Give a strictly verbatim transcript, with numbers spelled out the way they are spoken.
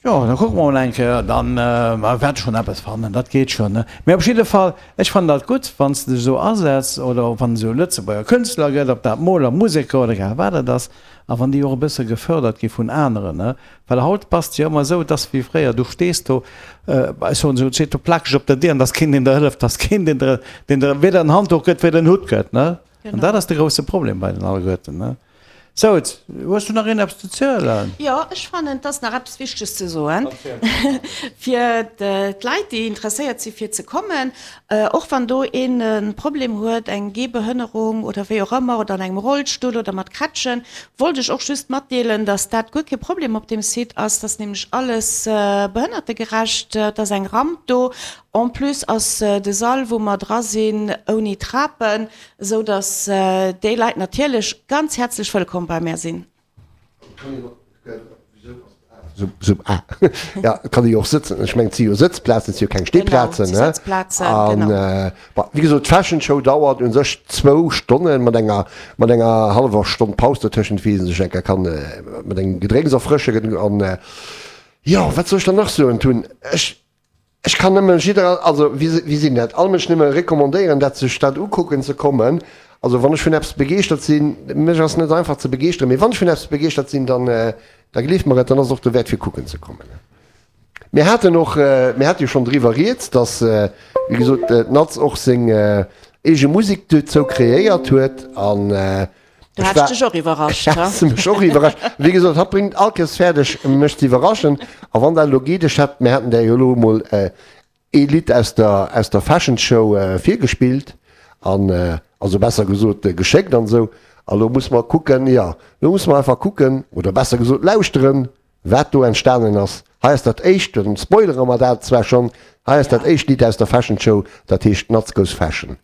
Jo, da kucke mer mol eng Kéier, dann mer wäerte schonn eppes fannen, dat geet schonn, ne? Mee op jidde Fall, ech fannen dat gutt, wann s de dech esou asetz oder och wann et esou Lëtzebuerger Kënschtler gëtt, ob dat Moler, Museker oder egal wat et ass, a wann déi och e bësse gefördert gi vun aneren, ne? Well haut bass de jo ëmmer esou, et ass wéi fréier, du stees do, ech soen esou, et steet do plakeg op der Dier an et ass keen, deen der hëlleft, et ass keen, deen der, deen der weder en Handduch gëtt, weder en Hutt gëtt, ne? An dat ass de grousse Problem bei den alleguerten, ne? Sou, hues du nach een eppes ze zielen? Jo, ech fannen, et ass nach eppes Wichteges ze soen fir d'Leit, déi interesséiert si fir ze kommen. Och wann do een e Problem huet, eng Gehbehënnerung oder wéi och ëmmer, oder an engem Rollstull oder mat Krätschen, wollt ech och just matdeelen, dass dat guer kee Problem op deem Site ass. Et ass nämlech alles behënnertegerecht, et ass eng Ramp do. En plus ass de Sall, wou mer dra sinn, ouni Trapen, esou datt déi Leit natierlech ganz häerzlech wëllkomm bei mär sinn. Jo, et kann ee jo och sëtzen. Ech mengen, et si jo Sëtzplazen, et si jo keng Stehplazen. Genau, et si Sëtzplazen, genau. An, bon, wéi gesot, d'Fashion Show dauert u sech zwou Stonnen, mat enger, mat enger hallwer Stonn Paus dotëschent, wéi ee sech eng Kéier kann mat engem Gedrénks erfrëschen. An, jo, wat soll ech dann nach soen, Tun? Ech. Ech kann nëmme jidder, also wéi sinn dat, all Mënsch nëmme recommandéieren, dat sech dat ukucken ze kommen. Also wann ech vun eppes begeeschtert sinn, mech ass net einfach ze begeeschteren, mee wann ech vun eppes begeeschtert sinn, dann, da gleeft mer et, dann ass et och dowäert fir kucken ze kommen. Mir haten och, mir hate jo schonn driwwer rieds, dass, wéi gesot, d'Natz och seng eege Musek dozou kreéiert huet an Du hat ech dech och iwwerrascht, ha? Has de mech och iwwerrascht. Wéi gesot, hatt bréngt all Kéiers fäerdeg, mech ze iwwerraschen. A wann dat elo geet, ech hat, mir haten där jo elo emol ee Lidd aus der, aus der Fashion Show virgespillt an, also besser gesot, geschéckt an esou. A lo musse mer kucken, jo, lo musse mer einfach kucken, oder besser gesot lauschteren, wat do entstanen ass. Hei ass dat éischt, dann spoilere mer dat zwar schonn, hei ass dat éischt Lidd aus der Fashion Show, dat heescht Nuts Goes Fashion.